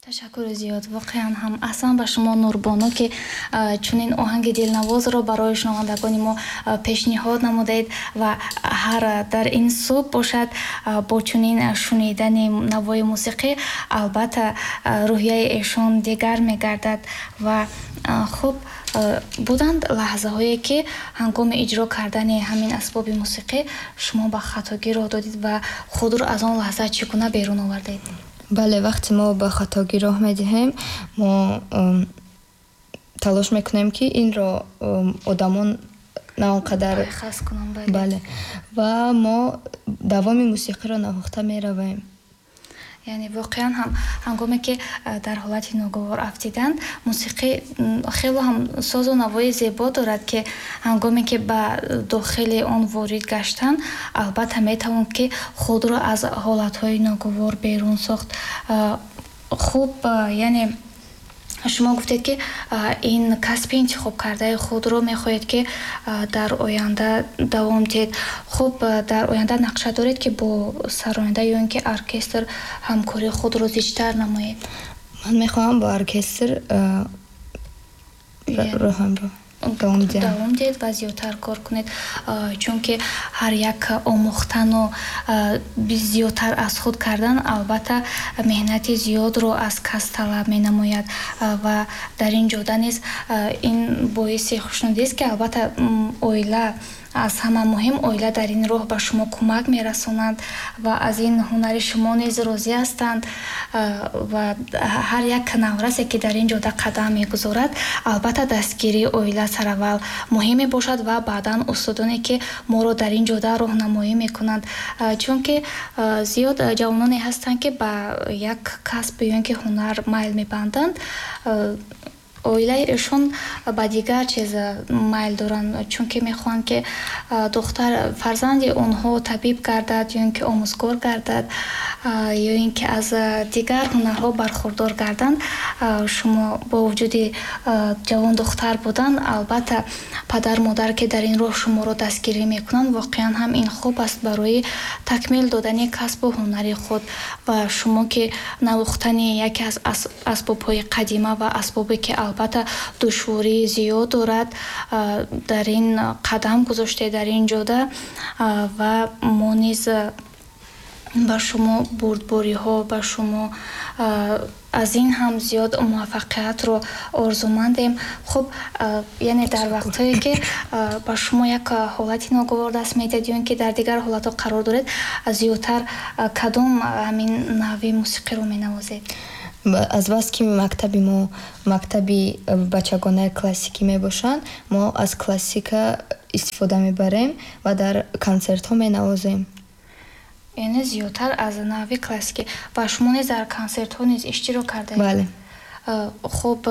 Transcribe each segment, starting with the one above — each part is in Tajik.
Ташаккури зиёд, воқеан ҳам аҳсан ба шумо, Нурбону, ки чунин оҳанги дилнавозро барои шунавандагони мо пешниҳод намудаед. Ва ҳар дар ин субҳ бошад, бо чунин шунидани навои мусиқӣ, албатта, рӯҳияи эшон дигар мегардад. Ва хуб, буданд лаҳзаҳое, ки ҳангоми иҷро кардани ҳамин асбоби мусиқӣ шумо ба хатогӣ роҳ додед ва худро аз он лаҳза чӣ гуна берун овардед? Бале, вақте мо ба хатогӣ роҳ медиҳем, мо талош мекунем, ки инро одамон на он қадар пайхас кунанд, бале. Бале, ва мо давоми мусиқиро навохта меравем. Яъне воқеан ҳам ҳангоме ки дар ҳолати ногувор афтиданд, мусиқӣ хело ҳам созу навои зебо дорад, ки ҳангоме ки ба дохили он ворид гаштанд, албатта, метавон ки худро аз ҳолатҳои ногувор берун сохт. Хуб, яъне шумо гуфтед, ки ин касби интихобкардаи худро мехоҳед, ки дар оянда давом диҳед. Хуб, дар оянда нақша доред, ки бо сароянда ё ин ки оркестр ҳамкории худро зичтар намоед? Ман мехоҳам бо оркестр роҳамро давом диҳам. Давом диҳед ва зиёдтар кор кунед, чунки ҳар як омӯхтану зиёдтар аз худ кардан, албатта, меҳнати зиёдро аз кас талаб менамояд. Ва дар ин ҷода низ ин боиси хушнудист, ки албатта, оила, аз ҳама муҳим, оила дар ин роҳ ба шумо кӯмак мерасонанд ва аз ин ҳунари шумо низ розӣ ҳастанд. Ва ҳар як наврасе, ки дар ин ҷода қадам мегузорад, албатта, дастгирии оила сараввал муҳим мебошад ва баъдан устодоне, ки моро дар ин ҷода роҳнамоӣ мекунанд, чунки зиёд ҷавононе ҳастанд, ки ба як касб ё ин ки ҳунар майл мебанданд, оилаи эшон ба дигар чиз майл доранд, чунки мехоҳанд, ки духтар фарзанди онҳо табиб гардад ё ин ки омӯзгор гардад, ё ин ки аз дигар ҳунарҳо бархурдор гарданд. Шумо бо вуҷуди ҷавон духтар будан, албатта, падар модар, ки дар ин роҳ шуморо дастгирӣ мекунанд, воқеан ҳам ин хуб аст барои такмил додани касбу ҳунари худ. Ва шумо, ки навохтани яке аз асбобҳои қадима ва асбобе, ки албатта, душвории зиёд дорад, дар ин қадам гузоштед дар ин ҷода. Ва мо низ ба шумо бурдбориҳо, ба шумо аз ин ҳам зиёд муваффақиятро орзумандем. Хуб, яъне дар вақтҳое, ки ба шумо як ҳолати ногувор даст медиҳад ё ин ки дар дигар ҳолатҳо қарор доред, зиёдтар кадом ҳамин навъи мусиқиро менавозед? Азбаски мактаби мо мактаби бачагонаи классикӣ мебошанд, мо аз классика истифода мебарем ва дар консертҳо менавозем. Яъне зиёдтар аз навъи классикӣ. Ва шумо низ дар консертҳо низ иштирок кардаед? Бале. Хуб,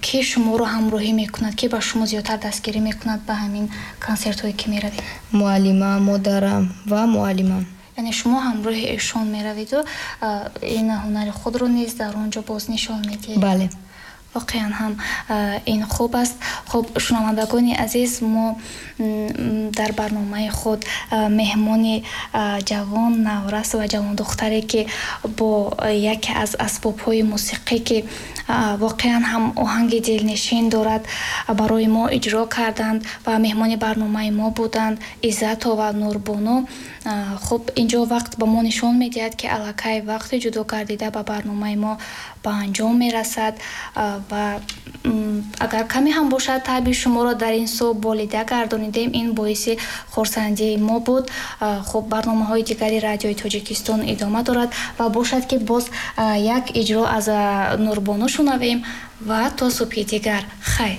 ки шуморо ҳамроҳӣ мекунад, ки ба шумо зиёдтар дастгирӣ мекунад ба ҳамин консертҳое, ки меравед? Муаллима, модарам ва муаллимам. Яъне шумо ҳамроҳи эшон мераведу ин ҳунари худро низ дар он ҷо боз нишон медиҳед? Бале. Воқеан ҳам ин хуб аст. Хуб, шунавандагони азиз, мо дар барномаи худ меҳмони ҷавон наврас ва ҷавондухтаре, ки бо яке аз асбобҳои мусиқӣ, ки воқеан ҳам оҳанги дилнишин дорад, барои мо иҷро карданд ва меҳмони барномаи мо буданд, Иззатова Нурбону. Хуб, инҷо вақт ба мо нишон медиҳад, ки аллакай вақти ҷудо гардида ба барномаи мо ба анҷом мерасад. Ва агар каме ҳам бошад, таъби шуморо дар ин субҳ болида гардонидем, ин боиси хурсандии мо буд. Хуб, барномаҳои дигари Радиои Тоҷикистон идома дорад ва бошад, ки боз як иҷро аз Нурбону шунавем. Ва то субҳи дигар хайр.